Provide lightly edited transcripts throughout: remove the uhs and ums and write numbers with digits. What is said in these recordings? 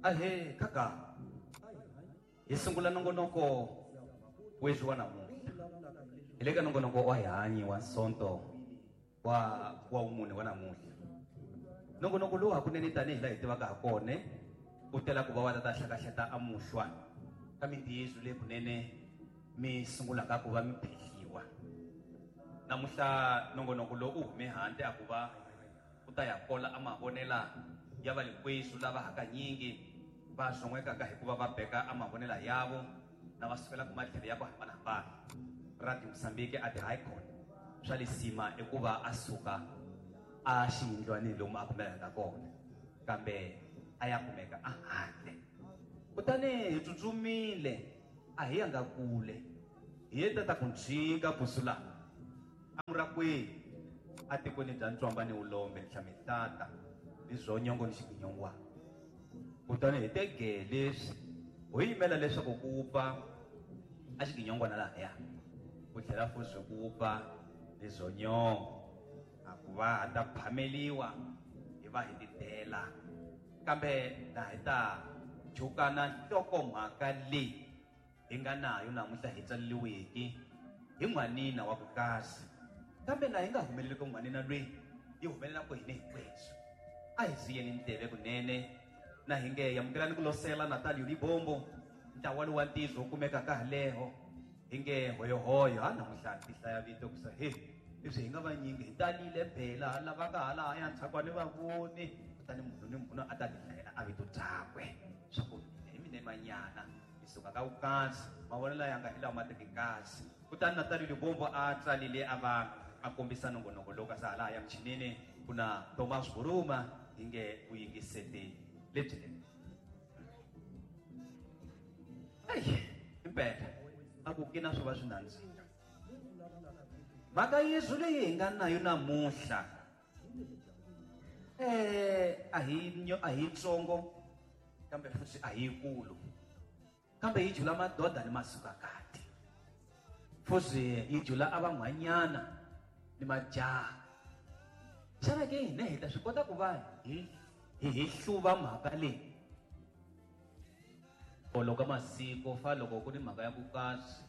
Ahee kaka hi sungula nongonoko weswi wa namuntlha hi le ka nongonoko wa hi wa sonto wa wa wumune wa namuntlha nongonoko lowu hakunene tanihi laha hi tivaka ha kone u tela ku va wa tata hlakahleta amuhlwa ka mintiyiso leyi kunene mi sungulaka ku va mi phehliwa namuntlha nongonoko lowu u hume handle a ku va u ta ya kola a mavonela ya va likwesu lava hakanyingi va zon'wekaka hikuva va beka a mavonela yavo na va sukelaka matlhelo ya ku hambanahambana. Radio Mozambique a ti-high court swa lisima i ku va a suka a xiyindlwanini lomu a kumekaka kona kambe a ya kumeka a handle. Kutani hi tsutsumile a hi yanga kule hi ye tata ku ntshika busu laha amurakweni atikweni bya ntswamba ni ulombe ni hlamihlata ni zwonyongo ni xiginyongwana. Kutani hi tege leswi ho yimela leswaku ku wupfa a xiginyongwana lahaya ku tlhela futhi ku wupfa ni zwonyongo a ku va ha ta phameliwa hi va hi titela kambe na hi ta jukana nhlokomhaka leyi hi nga nayo namuntlha hi tsaleliweke hi n'wanina wa ku kasi kambe na hi nga humeleli ku n'wanina lweyi yi humelela ku hina hinkwerhu a hi ziyeni ndleve kunene na hi nge amukelani ku losela Natalio Libombo ntlawa lowu wa ntizo wu kumekaka haleho hi nge hoyohoyo ha namuntlha ti hlaya vito ku sa he leswi hi nga vanyingi hi talile phela lava nga halahaya ntshakwani va voni kutani munhu ni munhu a ta ti hlayela a vito byakwe swa ku mina hi mina manyana hi suka ka vukasi mavonelo ya nga hi lawa ma teki kasi. Kutani Natalio Libombo a tsalile a va a kombisa nongonoko lowu kasi halahaya michinini ku na Thomas Buruma hi nge vuyingiseti lebyinene. Ayi impela a ku kina swo va swi nandzika mhaka yesu leyi hi nga nayo namuntlha a hi a hi tsongo kambe futhi a hi yikulu kambe yi jula madoda ni masukakati futhi yi jula a van'hwanyana ni majaha. Xana ke hina hi ta swi kota ku va hi hi hluva mhaka leyi loko masiko fa loko ku ni mhaka ya ku kasi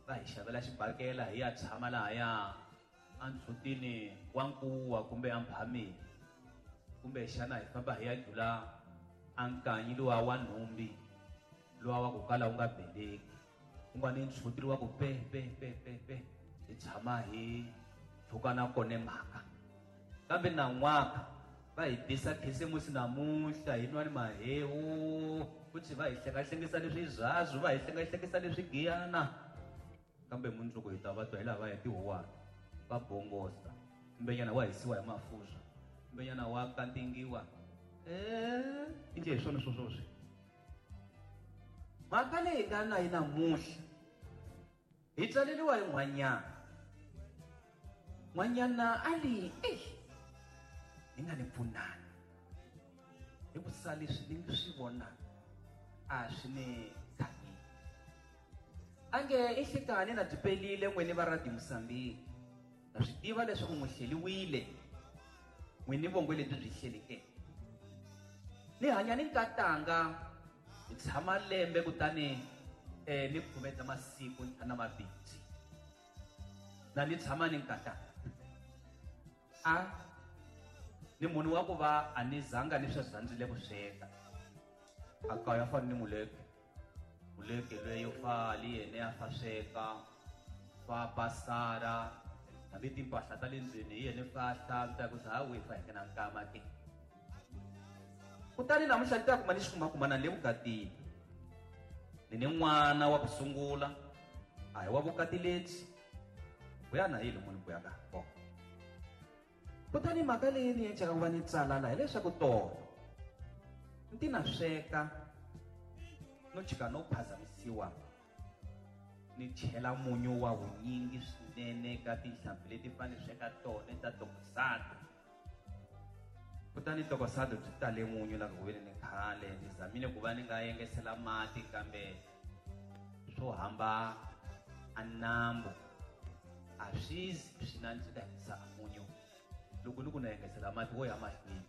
va hi xavela xibakela hi ya tshama lahaya andzhutini wa nkuwa kumbe amphameni kumbe xana hi famba hi ya jula ankanyi luwa wa nhumbi luwa wa ku kala wu nga beleki ku nga ni ndzhuti luwa ku pe pe pe pe pe hi tshama hi tlhukana kone mhaka kambe nan'waka va hi bisa khisimusi namuntlha hi nwa ni mahewu futhi va hi hlengahlengisisa leswi zazu va hi hlengahlengisisa leswi giyana kambe mundzuku hi ta va twa hi laha va hi tihuwana va bongosa kumbenyana wa hisiwa hi mafurha kumbenyana wa kantingiwa inje hi swona swoswoswi mhaka leyi hi nga na yi namuntlha hi tsaleliwa hi n'hwanyana n'hwanyana a li eyi hi nga ni pfunani hi ku sa leswi ni swi vonaka a swi ni khanyi ange i nhlikani na byi pelile n'wini va Radio Mozambique na swi tiva leswaku n'wi hleliwile n'wini vongwe lebyi byi hleleke ni hanya ni nkatanga hi tshama lembe kutani ni khumeta masiku ntlhanu na mabindzi na ni tshama ni nkatanga a ni munhu wa ku va a ni zanga ni swi rhandzile ku sweka a kaya fana ni muleke muleke lweyo fali yena ya fa sweka fa pasara hambi timpahla ta le ndlwini hi yena fa hlantswa ku ha wi fa hi na nkama ke kutani namuntlha ni ta kuma ni xi kumakumana le vukatini ni ni n'wana wa ku sungula a hi wa vukati lebyi buyana hi lomu ni buyaka kona kutani mhaka leyi ni endlaka ku va ni tsalala hileswaku tolo ni na sweka no jika no phazamisiwa ni chela munyu wa vunyingi swinene ka tinhlampfi leti fanele sweka tona ta tokosato kutani tokosato byi tale munyu la ku veni ni khale ni zamile ku va ni nga yengesela mati kambe swo hamba a nambu a swi swi nandzika hisa a munyu loko ni ku na yengesela mati wo ya mahlweni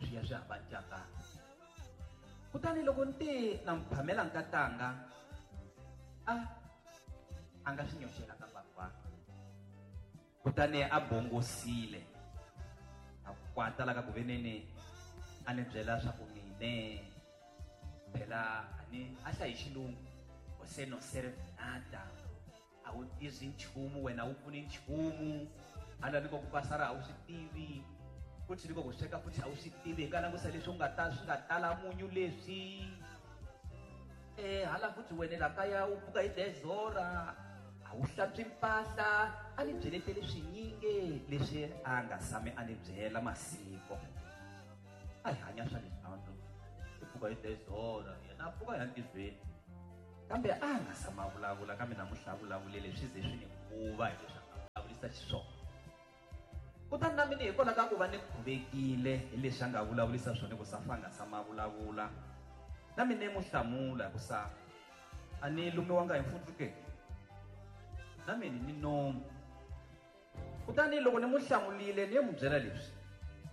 swi ya swi hamba ntyakana. Kutani loko ni te na n'wi phamela nkatanga, a a nga swi nyoxela ka bava. Kutani a bongosile, a kwata la ka ku veneni a ni byela swa ku mine phela a ni a hlayi xilungu, você não serve nada, a wu tivi nchumu wena, a wu pfuni nchumu, hala ni ko ku pasara a wu swi tivi, futhi ni ko ku sweka futhi a wu swi tivi, hi nga langusa leswi u nga ta swi nga tala munyu leswi. Hala futhi wena la kaya u pfuka hi 10 hora, a wu hlantswi mpahla, a ni byeletele swinyingi leswi a nga sami a ni byela masiko. A hi hanya swa leswanto, hi pfuka hi 10 hora, yena a pfuka ya ntirhweni. Kambe a nga sama vulavula, kambe namuntlha a vulavulele swi ze swi ni khuva hi leswi a nga vulavurisa xiswona. Kutani na mina hikwalaho ka ku va ni khuvekile hi leswi a nga vulavurisa swona, ku sa fa nga sama vulavula, na mina ni n'wi hlamula ku sa a ni lumiwanga hi mfutsu ke, na mina ni nomu. Kutani loko ni n'wi hlamulile ni ye n'wi byela leswi,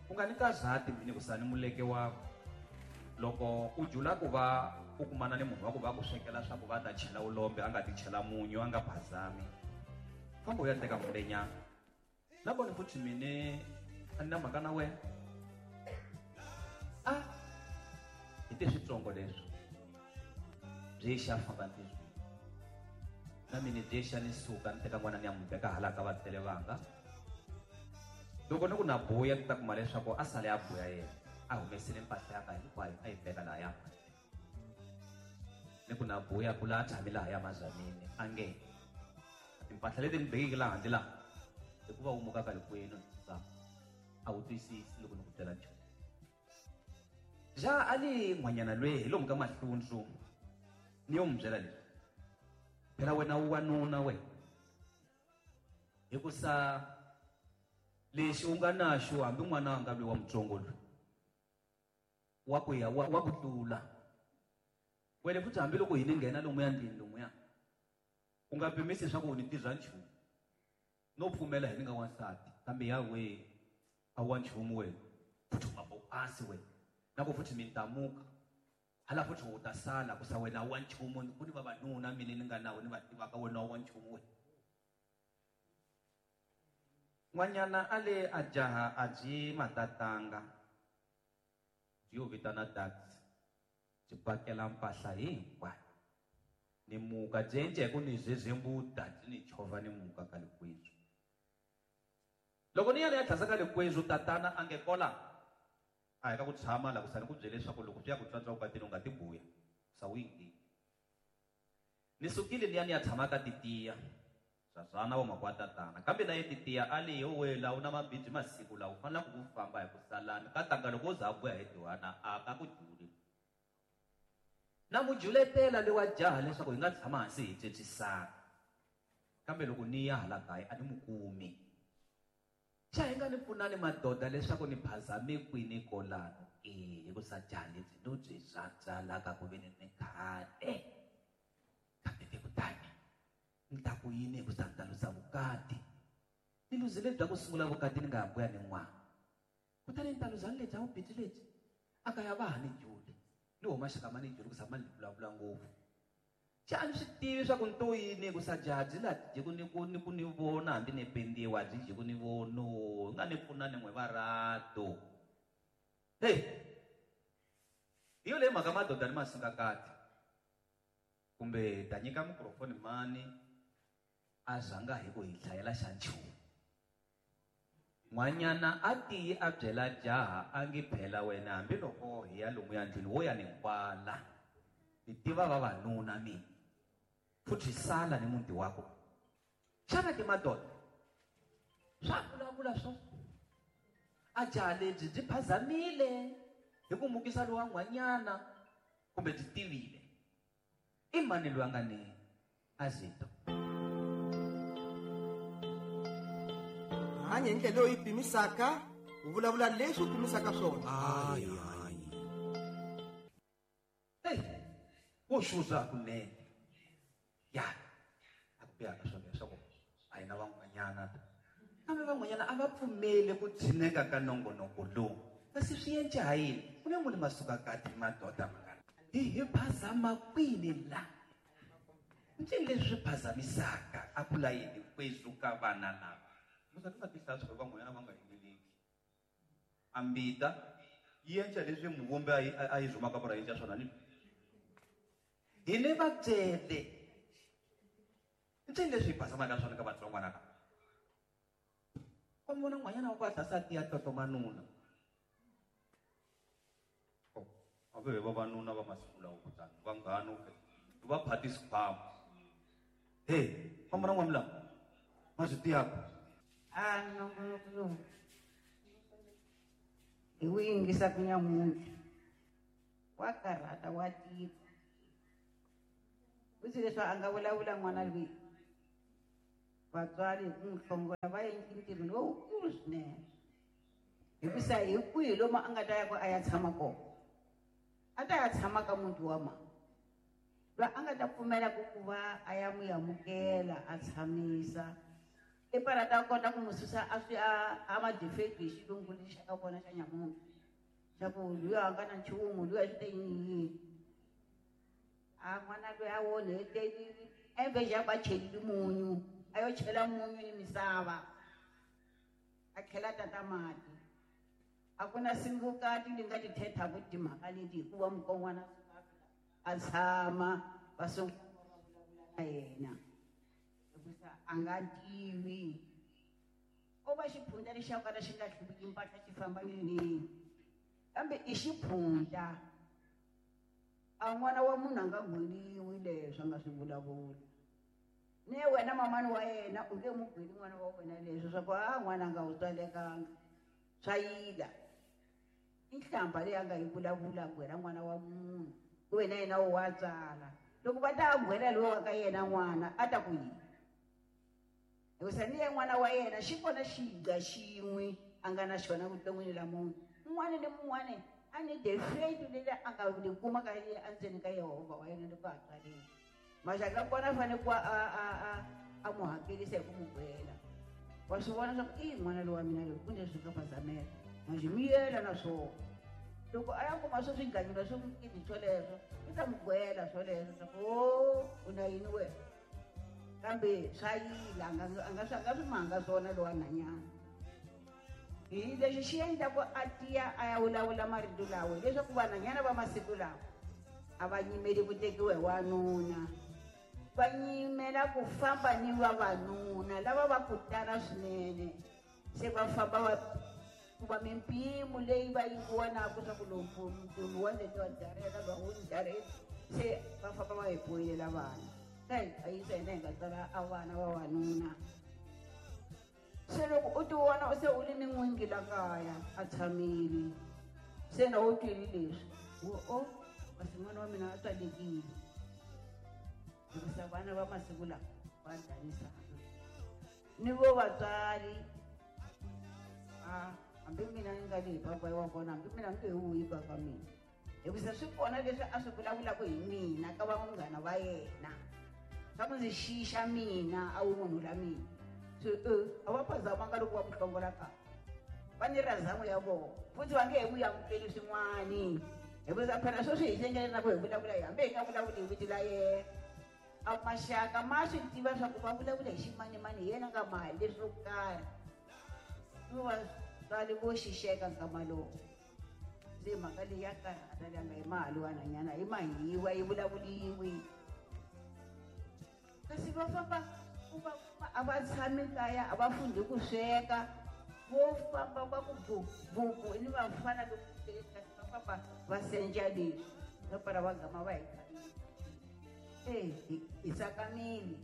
u nga ni kazati mina ku sa ni muleke wakwe. Loko u jula ku va u kumana ni munhu wa ku va ku swekela swa ku va ta chela ulombe, a nga ti chela munyu, a nga phazami, famba u ya teka mulenyana. Nakona futhi mine a ni na mhaka na wena. A hi te switsongo leswi byi xa famba ntirhweni, na mina byi xa ni suka ni teka n'wana ni ya n'wi veka hala ka vatswari vanga. Loko ni ku na buya, ni ta kuma leswaku a sale a buya yena, a humesile mpahla ya ka hinkwayo a yi veka laha ya. Ni ku na buya ku laha tshami laha ya mazanini, a nge timpahla leti ni bekeke laha handle laha, hikuva u muka ka likwenu a wu twisisi loko ni ku byela nchumu. Ja a li n'hwanyana lweyi hi lomu ka mahlundzu, ni yo n'wi byela leswi, phela wena u wanuna we, hikusa lexi u nga naxo hambi n'wana a nga lweyi wa mutsongo loyi wa ku ya wa ku tlula wena futhi, hambi loko hi ni nghena lomuya ndlwini lomuya, u nga pimisi leswaku u ni tirha nchumu, no pfumela hi ni nga wansati, kambe ya we a wa nchumu wena, futhi u nga bo asi wena, na ku futhi mi ntamuka hala futhi u ta sala ku sa wena wa nchumu, ku ni vavanuna mina ni nga nawo ni va tivaka, wena wa nchumu wena. N'wanyana a le a jaha a byi matatanga, byi yo vitana taxi, byi pakela mpahla hinkwayo ni muka, byi endle hi ku ni zezembuta, byi ni chovha ni muka ka likwetsu. Loko ni ya ni ya tlhasa ka likwetsu, tatana a nge kola a hi ka ku tshama la ku sa ni ku byele leswaku loko swi ya ku tswatswa vukatini u nga ti buya, sa wu yingi. Ni sukile ni ya ni ya tshama ka titiya swazwana wa makwa tatana, kambe na ye titiya a li yo wela u na mabindzu masiku lawa u fanele ku famba hi ku salana ka tanga, loko u za a buya hi tiwana a ka ku juli. Na mu juletela le wa jaha leswaku hi nga tshama hansi hi tswetswisana, kambe loko ni ya hala kaya a ni mu kumi. Xa hi nga ni pfunani madoda leswaku ni phazame kwini kolano ke, hikusa jaha lebyi no byi rhandza la ka ku ve ni khale. Kambe ke kutani ni ta ku yini hikusa ni ta luza vukati, ni luzile bya ku sungula vukati ni nga ha buya ni n'wana, kutani ni ta luza ni lebya vubindzu lebyi a ka ya va ha ni juli, ni huma xaka ma ni juli ku sa ma ni vulavula ngopfu. Xa a ni swi tivi swa ku ni to yini, hikusa jaha byi la dyi ku ni ku ni ku ni vona hambi ni pendiwa byi dyi ku ni vono, hi nga ni pfuna ni n'we varato. Hey, hi yo leyi mhaka madoda ni masungakati, kumbe ta nyika mikrofoni mani a zanga hi ku hi hlayela xa nchumu. N'wanyana a tiyi a byela jaha a ngi phela wena hambiloko hi ya lomuya ndlwini wo ya ni nkwala, ni tiva vavanuna mina, futhi sala ni muti wako. Xana ke madoda swa vulavula swo a jaha lebyi byi phazamile hi ku mukisa lowa n'wanyana, kumbe byi tivile i mani loyi a nga ni azito? Hanya hi ndlela leyi u yi pimisaka, u vulavula leswi u pimisaka swona. Hayi, hayi. Hey, wo xuza kunene. Ya, a ku biha ka swona leswaku a hi na van'wanyana. Kambe van'wanyana a va pfumeli ku tshineka ka nongonoko lowu. Kasi swi endle ha yini? Ku ne muni masuka kati madoda mangana. Hi phazama kwini la? Ncini leswi swi phazamisaka a ku layeni kwezu ka vana lava? Musa ti nga tihlaya swa van'wanyana va nga yingeleki. Ambita yi endla leswi muvumbi a yi zumaka vura endla swona ni. Hi ne va byele. Ncini leswi hi phazamaka swona ka vatsongwana lava? Wa vona n'wanyana wa ku a tlhasa tiya tlotomanuna. A ve vavanuna va masiku lawa kutani vanghana va phati xikhwama. Hey, famba na n'wamula. Ma swi tiyaka. A nongonoko lowu hi wu yingisa ku nyamuntlha wa karhata wa tika. Futsi leswi a nga vulavula n'wana loyi vatswari hi ku n'wi hlongola va endli ntirho lowukulu swinene. Hikusa hi kwihi lomu a nga ta ya ku a ya tshama kona? A ta ya tshama ka muti wa mhani. Loyi a nga ta pfumela ku va a ya n'wi amukela a tshamisa. I para ta kota ku n'wi susa a swi a ma defect hi xilungu lexi xa ka vona xa nyamuntlha. Xa ku luya a nga na nchumu, luya swi te yini yini. A n'wana loyi a onhetelile embe xa ku a chelile munyu, a yo chela munyu ni misava. A tlhela tata mati. A ku na singukati li nga ti thethaku timhaka leti hikuva mukon'wana a tshama va sungula va vulavula na yena. Hikusa a nga tivi. O va xiphunta lexi xa kala xi nga hluviki mpahla xi famba ni. Kambe i xiphunta. A n'wana wa munhu a nga gweliwi leswi a nga swi vulavula. Ne wena mamani wa yena u nge n'wi gweli n'wana wa wena leswi swa ku a n'wana a nga wu tswalekanga. Swa yila. I nhlamba leyi a nga yi vulavula gwela n'wana wa munhu. Ku wena yena u wa tswala. Loko va ta gwela loyi wa ka yena n'wana a ta ku yini? Hikusa ni ye n'wana wa yena xi kona xiga xin'we a nga na xona vuton'wini la munhu. Un'wana ni mun'wana a ni defect leyi a nga li kuma ka yena endzeni ka Yehovha wa yena loko a tswalile. Maxaka kona a fanele ku a n'wi hakerisa hi ku n'wi gwela. Wa swi vona swa ku i n'wana lowa mina loyi ku leswi nga phazamela. Manjhe miyela na swona. Loko a ya kuma swo swiganyula swo nkini swoleswo, i ta n'wi gwela swoleswo swa ku o u na yini wena. Kambe swa yila a nga swi manga swona lowa nhanyana. Hi lexi xi endlaku a tiya a ya vulavula marito lawa hileswaku vanhanyana va masiku lawa a va nyimeli ku tekiwa hi wanuna. Va nyimela ku famba ni vavanuna lava va ku tala swinene. Se va famba va kuma mimpimo leyi va yi vonaka swa ku lowu mpimo wa leti wa dareka va wu dareka. Se va famba va hi boyelela vana. Ta hi hlayisa hina hi nga tswala a vana vavanuna. Se loko u ti vona u se u ri ni n'wingi la kaya a tshamile. Se na u twile leswi wo o kasi n'wana wa mina a tswalekile. Hikusa vana va masiku lawa va danisana. Ni vo vatswari a hambi mina ni nga le hi papa wa kona hambi mina ni nge wuyi papa mina. Hikusa swi kona leswi a swi vulavulaka hi mina ka vanghana va yena. Swa ku ndzi xixa mina a wu munhu la mina. Se a va phazamanga loko va ku hlongola ka. Va ni razamo ya vona. Futhi va nge he vuyi amukeli swin'wani. Hikusa phela sweswi hi xengele na ku hi vulavula hi hambi hi nga vulavuli hi vito la yena. A maxaka ma swi tiva swa ku va vulavula hi ximanimani hi yena nga mali leswo karhi. Ni vatswari vo xixeka nkama lowu. Se mhaka leyi ya karhata leyi nga hi mali wa nhanyana hi mahiwa yi vulavuliwi. Kasi va famba ku va a va tshami kaya a va fundhi ku sweka. Vo famba va ku buku ni vafana loko kasi va famba va senja leswi. Va para va gama va hi khavile. Hi tsakamile.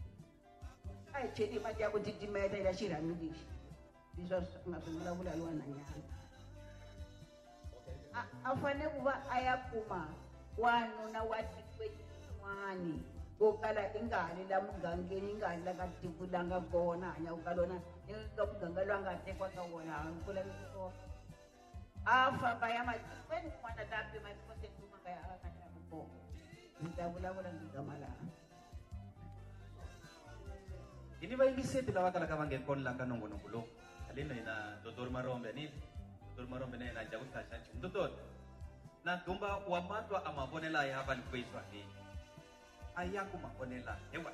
A hi cheli mati ya ku titimeta eka xirhami lexi. Leswi a swi nga swi vulavula hi wanhanyana. A fanele ku va a ya kuma wanuna wa tikweni rin'wani wo kala i nga ha li la mugangeni, i nga ha li la ka tiko la nga kona, hanyaka ka lona, ni ka muganga lowu a nga tekiwa ka wona, a ku laveki swona. A famba ya matikweni kun'wana ta pima tiko se kuma ka ya a nga tlhela kona. Ndzi ta vulavula ndzi gama laha. Hi ni vayingiseti lava kalaka va nge kona la ka nongonoko lowu. Haleni na hina Dr. Marombe, ni Dr. Marombe na yena a dya ku hlaya xa nchumu. Dr. Na dumba wa matwa a mavonela ya va likwezwa leyi. A ya ku mavonela hewa.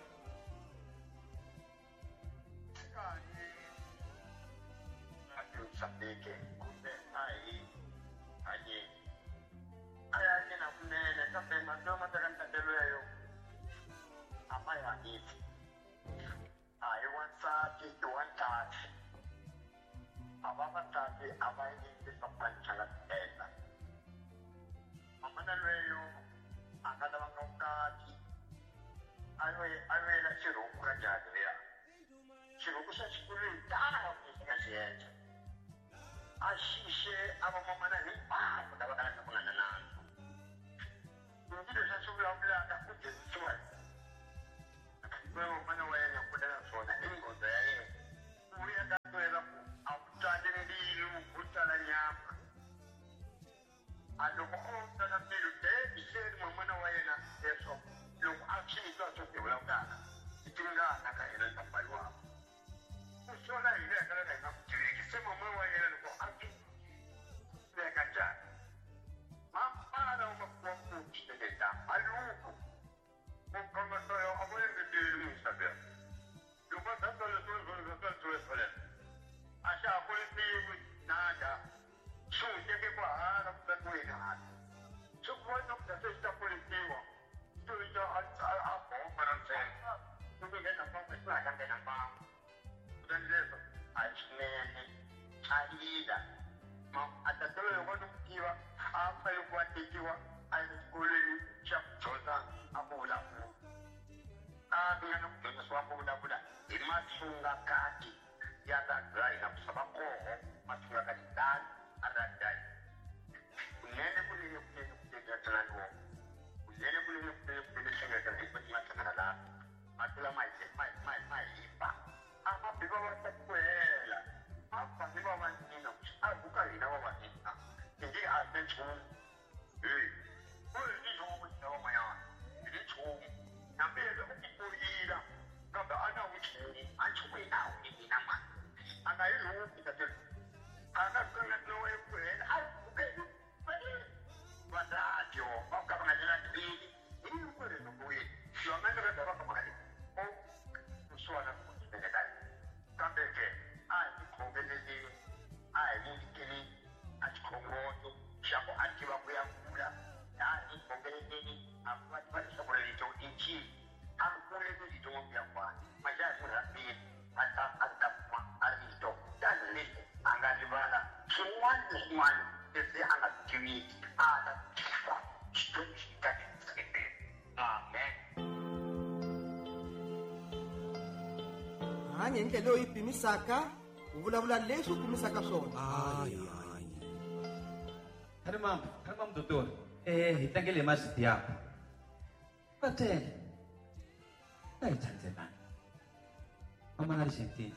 Hanya hi ndlela leyi pimisaka, u vulavula leswi u pimisaka swona. Khalimam doctor. Hi tlangele hi mazwiti yakho. Va tele. Va hi thandzelana. Mamana Argentina.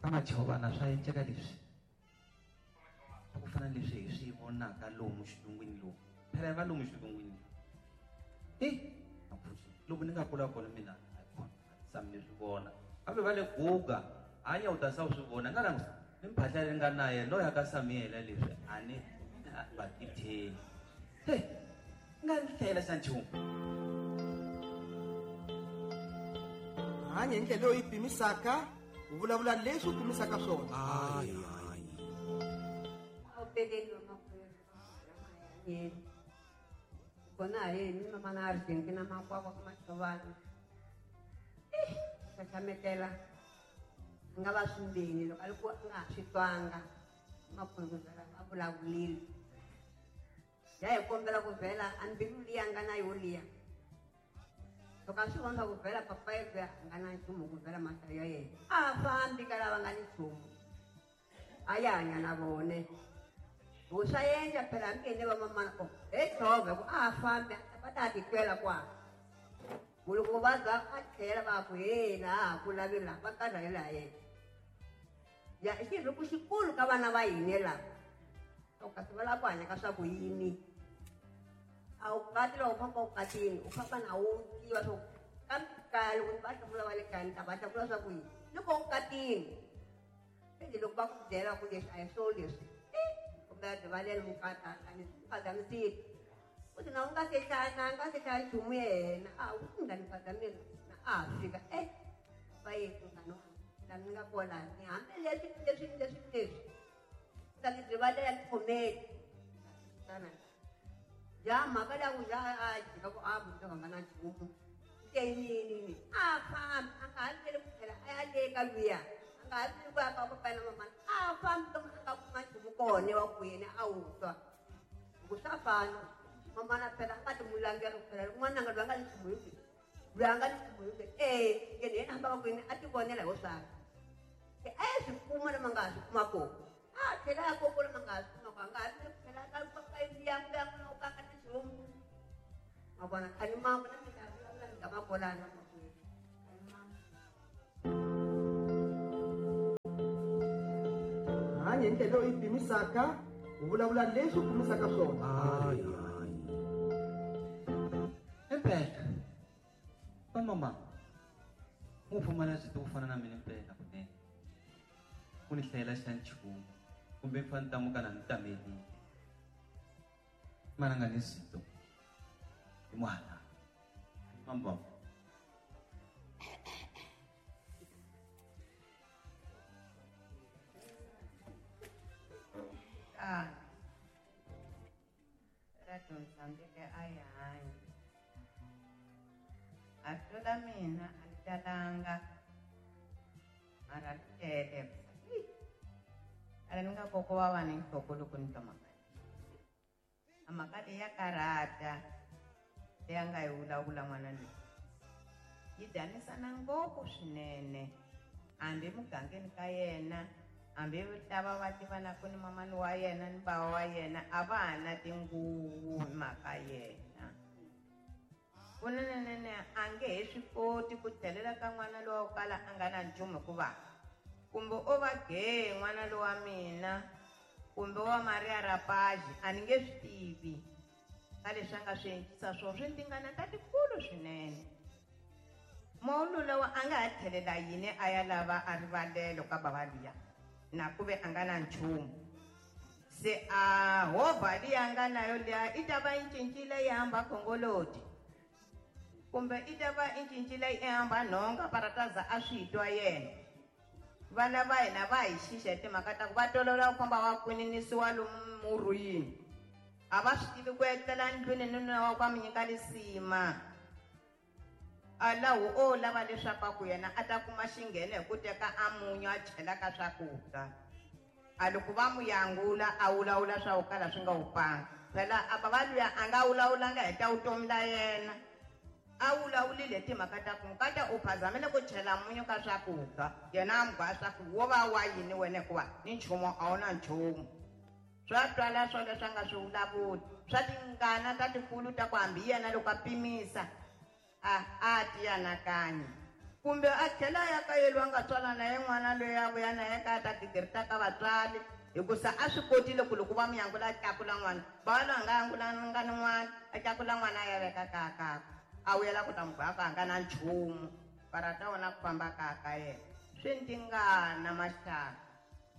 Ka machovana swa endleka leswi. Ku fana leswi hi swi vonaka lomu xilungwini lomu. Phela va lomu xilungwini. Loko ni nga kula kona mina sami swi vona. Kambe va le guga hanya u ta sa swi vona nga langusa ni mphahla leri nga na yena loyi ka Samuel leswi a ni va titheli. Hey, nga hlela xa nchumu. Hanya hi ndlela leyi pimisaka, u vulavula leswi u pimisaka swona. Kona yini mama na Argentina makwavo ka machovana. Xaxametela nga va swimbeni loko a ri ku a nga ha swi twanga makwerhu vhela a vulavulile. Ya hi kombela ku vhela a mbilu liya nga na yo liya. Loko a swi vona ku vhela papa yekwe a nga na nchumu ku vhela mahlayo ya yena. A fambi ka lava nga ni nchumu. A ya hanya na vone. Ku swa endla phela hambi ene va mamana ko he tshove ku a fambi va ta titwela kwala. Loko va za a tlhela va ku he laha ku lavi laha va karhalela yena. Ya i xirhuku xikulu ka vana va hina lava. Kasi va lava ku hanya ka swa ku yini. A wu kati loko u famba u katini u famba na wu tiva swo kambe kaya loko va hlamula va le kaya ni ta va hlamula swa ku yini. Loko u katini loko va ku byela ku leswi a hi swo leswi. rivalela mukata a ni phazamisile u ti na u nga se hlaya na nga se hlaya nchumu yena a u ti nga ni phazamile na a fika e va ye munghana la ni nga kona ni hambi leswi leswi leswi leswi ta ni rivalela ni khomeli tana ya mhaka leya ku ya a jika ku a munhu a nga na nchumu te yini a fambi a nga ha vileli ku tlhela a ya le ka luya a nga ha vileli ku ya ka papa na mamana a fambi lomu a nga kuma nchumu kona wa ku yena a wu twa hi ku swa fana mamana phela a nga ti mulangela ku phela n'wananga loyi a nga ni nchumu hi kwihi loyi a nga ni nchumu hi kwihi e yena yena hambaka kwini a ti vonela hi swakwe se a ya swi kuma lama nga ha swi kuma kona a tlhela ya koko lama nga ha swi kuma kona a nga ha vileli ku tlhela ka ka ya ya ku ka nga na nchumu ma vona a ni mama na mina vulavula ni nga makolana makwenu a ni mama. Hanya hi ndlela leyi pimisaka u vulavula leswi u pimisaka swona. Hayi hayi impela vamama mu pfumala byi to fana na mina impela kunene ku ni hlayela xa nchumu kumbe mi fane tamuka na ni tamelile mana nga ni swito hi n'wana mambam. Ah, ra dyondzisa ndlela a yi hanya a tlula mina a ni talanga mara ri tele ala ni nga koko wa va ni nhloko loko ni twa mhaka a mhaka leyi ya karhata leyi a nga yi vulavula n'wana loyi yi danisana ngopfu swinene hambi mugangeni ka yena hambi lava va tivanaka ni mamani wa yena ni bava wa yena a va ha na tinguvu hi mhaka yena kunenenene a nge he swi koti ku tlhelela ka n'wana lowa wo kala a nga na nchumu hikuva kumbe o va gee n'wana lowa mina kumbe wa Maria Rapaji a ni nge swi tivi ka leswi a nga swi endlisa swona swi tingana ta tikulu swinene mawulu lowa a nga ha tlhelela yini a ya lava a rivalelo ka bava luya na ku ve a nga na nchumu se a hovha liya a nga na yo liya i ta va yi cincile yi hamba khongoloti kumbe i ta va i cincile yi hamba nhonga parataza a swi twa yena vana va hina va hi xixa hi timhaka ta ku va tolovela ku famba va kwininisiwa lomu murhwini a va swi tivi ku etlela ndlwini ni nuna wa ku va mi nyika lisima a lahu o lava leswaku a ku yena a ta kuma xingheno hi ku teka a munyu a chela ka swakudya a loko va mu yangula a wulawula swa ku kala swi nga wupanga phela a bava luya a nga wulawulanga hi ta vutomi la yena a wulawulile hi timhaka ta ku mukata u phazamile ku chela munyu ka swakudya yena a mu gwa swa ku wo va wa yini wena hikuva ni nchumu a wu na nchumu swa twala swo leswi a nga swi vulavuli swa tingana ta tikulu ta ku hambi yena loko a pimisa a a ti anakanya kumbe a tlhela a ya ka yelwa a nga tswala na ye n'wana loyi a vuya na ye ka a ta gigirita ka vatswari hikusa a swi kotile ku loko va mu yangula a tlakula n'wana va loyi a nga yangulanga ni n'wana a tlakula n'wana a ya veka kaya kakwe a vuyela ku ta mu gwa ku a nga na nchumu parata wona ku famba kaya ka yena swi ni tingana maxaka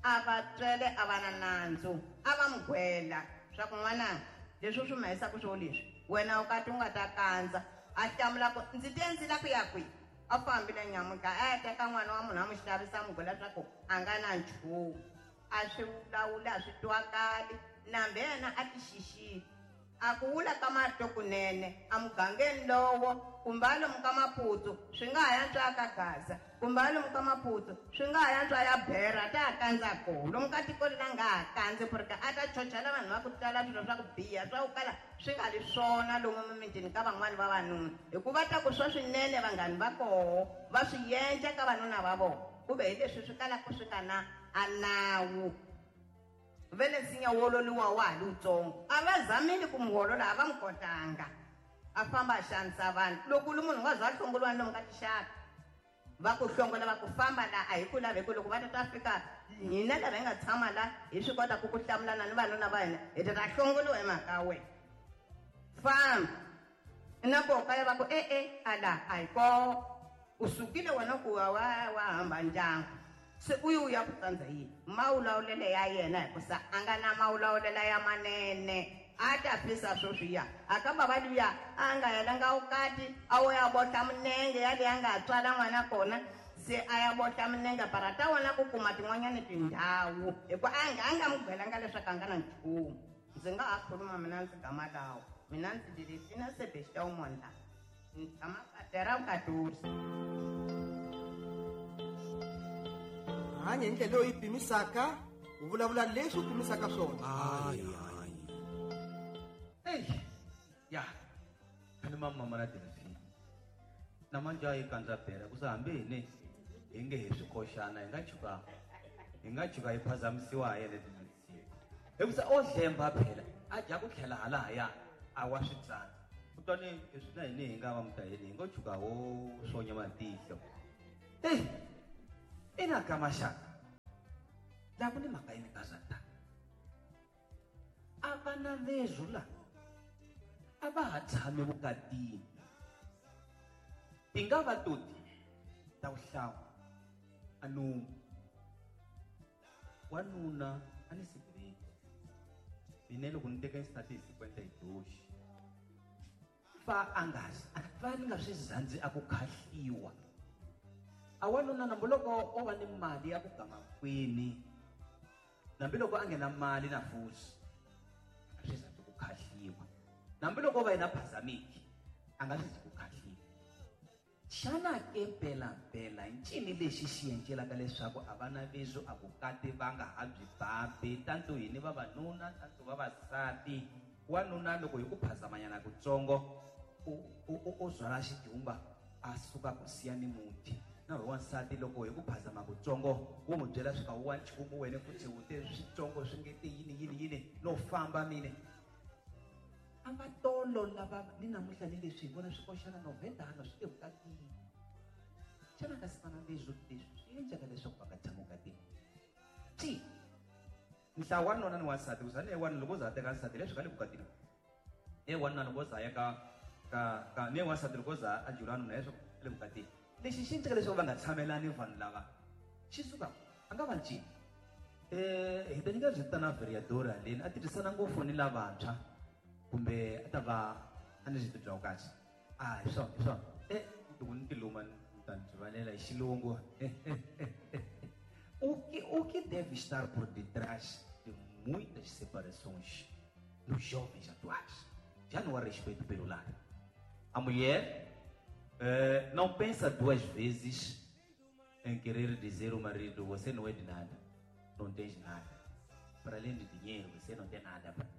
a va tswele a va na nandzu a va mu gwela swa ku n'wananga leswi u swi mahisaka swo leswi wena u kati u nga ta kandza a hlamula ku ndzi te ndzi la ku ya kwihi a fambile nyamuka a ya teka n'wana wa munhu a mu xavisa mu gwela swa ku a nga na nchumu a swi vulavula a swi twakali nambe yena a ti xixile a ku wula ka marito kunene a mugangeni lowo kumbe a lomu ka Maputsu swi nga ha yantswa ka Gaza kumbe a lomu ka Maputsu swi nga ha yantswa ya Bera ta ha kandza koho lomu ka tiko leri a nga ha kandzi porque a ta chochela vanhu va ku tala swilo swa ku biha swa ku kala swi nga ri swona lomu mimitini ka van'wani vavanuna hikuva ta ku swa swinene vanghani va koho va swi endla ka vanuna va vona ku ve hi leswi swi kalaka swi nga na a nawu vele nsinya wololiwa wa ha ri wutsongo a va zamile ku mu wolola a va mu kotanga a famba a xanisa vanhu loko u ri munhu u nga za hlongoliwa ni lomu ka tixaka va ku hlongola va ku famba la a hi ku lavi hi ku loko va ta ta fika hina lava hi nga tshama la hi swi kota ku ku hlamulana ni vanuna va hina hi ta ta hlongoliwa hi mhaka wena famba na koho kaya va ku e-e a la a hi koho u sukile wena ku wa wa wa hamba ndyangu Se u yi ya ku tsandza yini? Mawulawulele ya yena hikusa a nga na mawulawulela ya manene. A ta fisa sweswiya. A ka bava luya a nga helanga vukati a wo ya bohla minenge yaleyi a nga tswala n'wana kona. Se a ya bohla minenge para ta wona ku kuma tin'wanyani tindhawu hikuva a nga n'wi byelanga leswaku a nga na nchumu. Ndzi nga ha khuluma mina ndzi gama lawa. Mina ndzi Delphina Sebastião Mondla. Ndzi tshama Katera Vukatusi. Hanya hi ndlela leyi pimisaka, u vulavula leswi u pimisaka swona. Hey, ya. Khani mama na Delphina. Namanje a yi kandza bela ku hambi hini hi nge hi swikoxana hi nga chuka hi phazamisiwa hi yena tinsiku. Hikusa o hlemba phela a dya ku tlhela halahaya a wa swi tsandza. Kutani leswi na hini hi nga va mutaheli hi ngo chuka wo swonya matihlo. Hey, ina ka maxaka. La ku ni mhaka yini ka swa ta. A vana vezwu la a va ha tshami vukatini. Ti nga va toti ta vuhlawu a nomu. Wanuna a ni sigreti. Mina loko ni teka xisati hi 52. Fa a nga fa ni nga swi zandzi a ku khahliwa. A wanuna nambi loko o va ni mali ya ku gama kwini. Nambi loko a nghena mali na fusi. A swi zandzi ku khahliwa. Nambi loko o va yena phazamiki a nga swi zi ku khahliwa. Xana ke mpelampela ncini lexi xi endlelaka leswaku a va na vezwu a vukati va nga ha byi babi tanto hini vavanuna tanto vavasati. Wanuna loko hi ku phazamanyana kutsongo u zwala xidumba a suka ku siya ni muti. Na ri wansati loko hi ku phazama kutsongo wu n'wi byela swi ka wa nchumu wena futhi wu te switsongo swi nge te yini yini yini no famba mine. A va tolo lava ni namuntlha ni leswi hi vona swi koxana novhentano swi le vukatini. Xana kasi vana leswi leswi swi endleka leswaku va nga tshami vukatini? Ti nhlawu wanuna ni wansati ku za ne wanuna loko u za a teka nsati leswi ka le vukatini. Ne wanuna loko u za ya ka ne wansati loko u za a jula wanuna leswi ka le vukatini. Lexi xi endleka leswaku va nga tshamelani vanhu lava xi suka a nga va ncini. Hi ta nyika byi tana vereadora leni a tirhisana ngopfu ni lavantshwa kumbe a ta va a ni byi bya kahle. A hi swona hi swona. Loko ni tiluma ni ta ni rivalela hi xilungu. O que deve estar por detrás de muitas separações nos jovens atuais? Já não há respeito pelo lar. A mulher não pensa duas vezes em querer dizer ao marido: você não é de nada, não tens nada. Para além de dinheiro, você não tem nada para mim.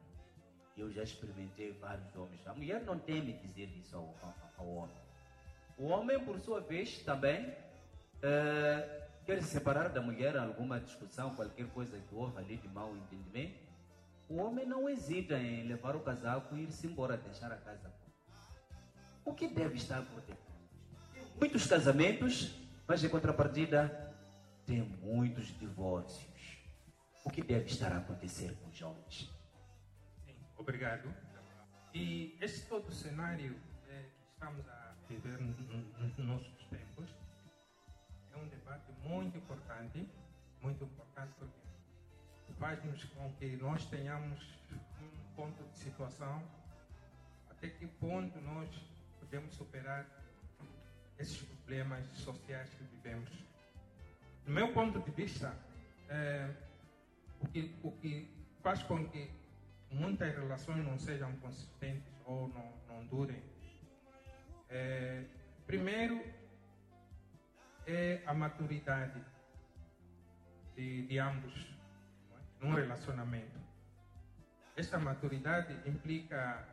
Eu já experimentei vários homens. A mulher não teme dizer isso ao homem. O homem, por sua vez, também quer se separar da mulher, alguma discussão, qualquer coisa que houve ali de mau entendimento. O homem não hesita em levar o casaco e ir-se embora, deixar a casa. O que deve estar por detrás? Muitos casamentos, mas em contrapartida, tem muitos divórcios. O que deve estar a acontecer com os jovens? Sim, obrigado. E esse todo cenário que estamos a viver nos nossos tempos é um debate muito importante porque faz-nos com que nós tenhamos um ponto de situação, até que ponto nós podemos superar esses problemas sociais que vivemos. No meu ponto de vista, o que faz com que muitas relações não sejam consistentes ou não durem, primeiro é a maturidade de ambos, não é? Num relacionamento. Esta maturidade implica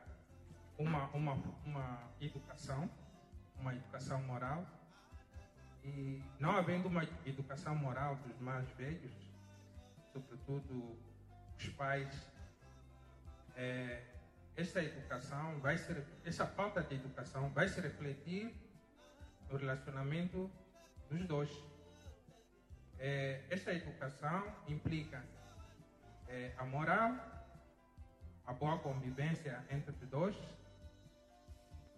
uma educação, uma educação moral, e não havendo uma educação moral dos mais velhos, sobretudo os pais, esta educação vai ser, essa falta de educação vai se refletir no relacionamento dos dois. Esta educação implica a moral, a boa convivência entre os dois,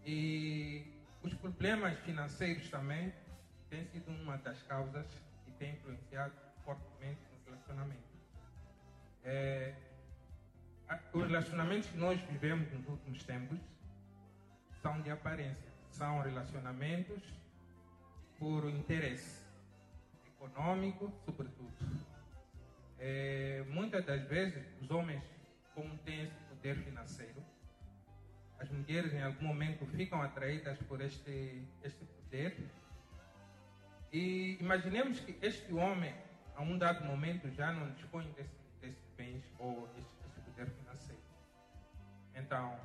e os problemas financeiros também têm sido uma das causas que tem influenciado fortemente no relacionamento. Os relacionamentos que nós vivemos nos últimos tempos são de aparência, são relacionamentos por interesse econômico, sobretudo. Muitas das vezes, os homens, como têm esse poder financeiro, as mulheres em algum momento ficam atraídas por este poder. E imaginemos que este homem, a um dado momento, já não dispõe desses bens ou este poder financeiro. Então,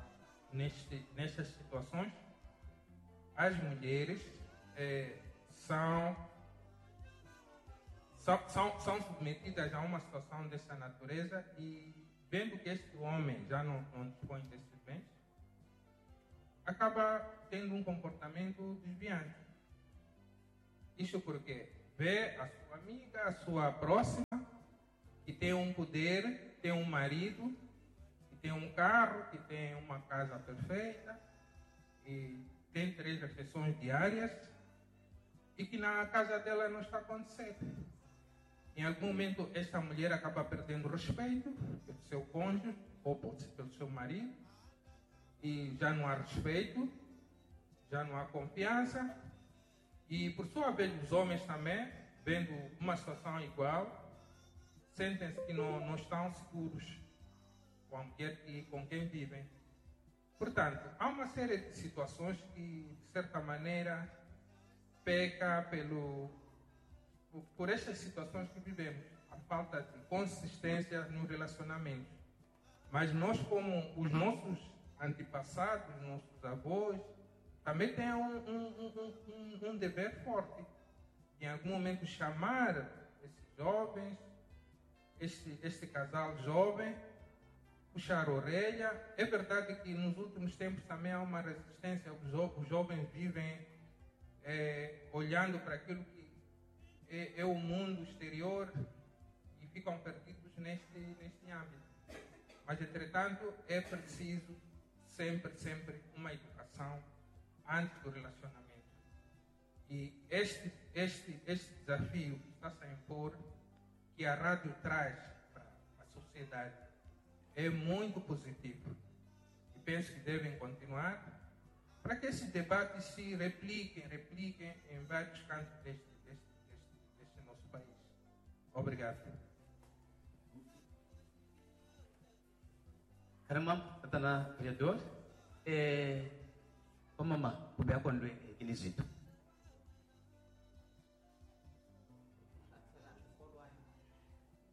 nestas situações, as mulheres são submetidas a uma situação dessa natureza e, vendo que este homem já não dispõe desses bens, acaba tendo um comportamento desviante. Isso porque vê a sua amiga, a sua próxima, que tem um poder, tem um marido, que tem um carro, que tem uma casa perfeita, e tem 3 refeições diárias, e que na casa dela não está acontecendo. Em algum momento, esta mulher acaba perdendo respeito pelo seu cônjuge ou pelo seu marido, e já não há respeito, já não há confiança. E, por sua vez, os homens também, vendo uma situação igual, sentem-se que não estão seguros com a mulher e com quem vivem. Portanto, há uma série de situações que, de certa maneira, peca por estas situações que vivemos, a falta de consistência no relacionamento. Mas nós, como os nossos antepassados, nossos avós, também têm um dever forte. Em algum momento chamar esses jovens, este casal jovem, puxar a orelha. É verdade que nos últimos tempos também há uma resistência. Os jovens vivem olhando para aquilo que é o mundo exterior e ficam perdidos neste âmbito. Mas, entretanto, é preciso sempre, sempre uma educação antes do relacionamento. E este desafio que está-se a impor, que a rádio traz para a sociedade, é muito positivo. E penso que devem continuar para que esses debates se repliquem em vários cantos deste nosso país. Obrigado. Caramba, tatana vereador, mama, kubea kondwe inizito.